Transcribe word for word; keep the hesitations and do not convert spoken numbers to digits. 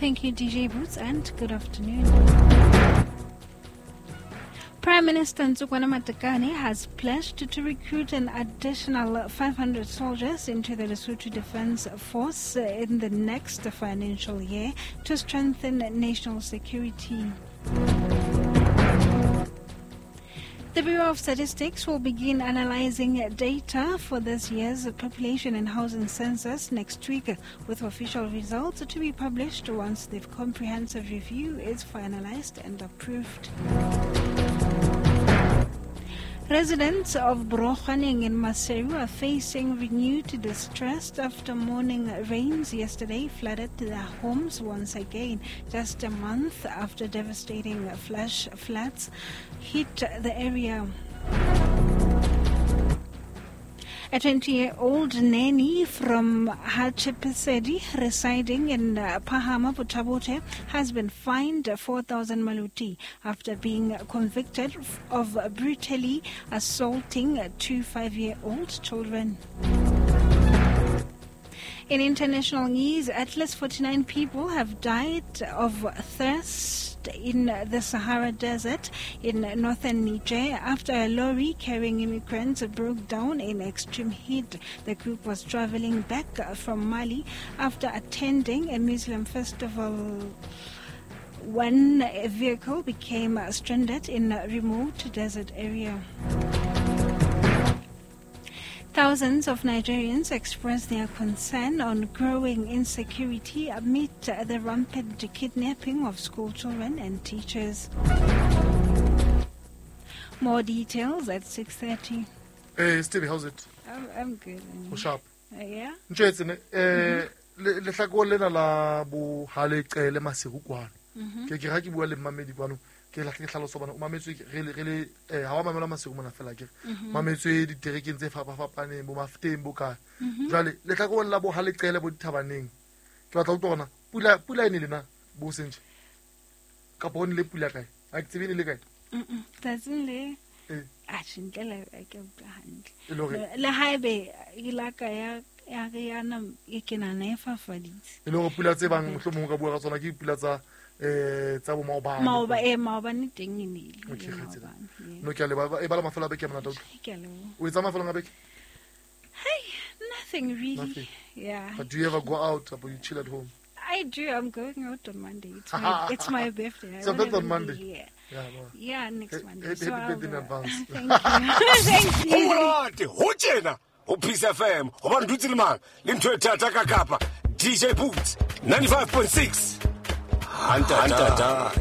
Thank you, D J Boots, and good afternoon. Prime Minister Ntsokoane Matekane has pledged to recruit an additional five hundred soldiers into the Lesotho Defence Force in the next financial year to strengthen national security. The Bureau of Statistics will begin analyzing data for this year's population and housing census next week, with official results to be published once the comprehensive review is finalized and approved. Residents of Brokhaneng in Maseru are facing renewed distress after morning rains yesterday flooded their homes once again, just a month after devastating flash floods hit the area. A twenty-year-old nanny from Hatshepsut residing in Pahama, Botha-Bothe, has been fined four thousand maluti after being convicted of brutally assaulting two five-year-old children. In international news, at least forty-nine people have died of thirst in the Sahara Desert in northern Niger after a lorry carrying immigrants broke down in extreme heat. The group was traveling back from Mali after attending a Muslim festival when a vehicle became stranded in a remote desert area. Thousands of Nigerians expressed their concern on growing insecurity amid the rampant kidnapping of school children and teachers. More details at six thirty. Hey, Stevie, how's it? I'm, I'm good. Oh, sharp. Uh, yeah? Ke la ke hlaloso bana o mametswe re le re le eh ha wa mamela Maseru mona fela ke mametswe diterekeng tse fapafapaneng bo Mafteng bo kae jwale le tla go la bo ha leqele bo dithabaneng ke batla utlwa gona pula pula ene lena bo sentse ka bone le pula kae a ke tsebe le kae mm tsatsing le eh a tshintlela ke utlwa hantle le le haebe ilaka ya ya re yana e kena na e fafaditse e le gore pula tse bang mohlomong ka bua ka tsona ke pula tsa eh tsa bo maobane maoba e maobane teng e nile okay kgetsela no ke a leba e bala mafelo a beke a monate ke a leboha o etsa mafelo a beke. Hey, nothing really. Nothing. Yeah, but do you ever go out or you chill at home? I do. I'm going out on Monday. It's my, it's my birthday. It's your birthday on Monday. Yeah. Yeah, no. Yeah, next Monday. Happy, so happy birthday in advance. Thank you. Thank you. Ho monate ho tjena ho Peace F M ho ba ntutse le mang le ntho e thata ka kapa D J Boots ninety-five point six. Hantata.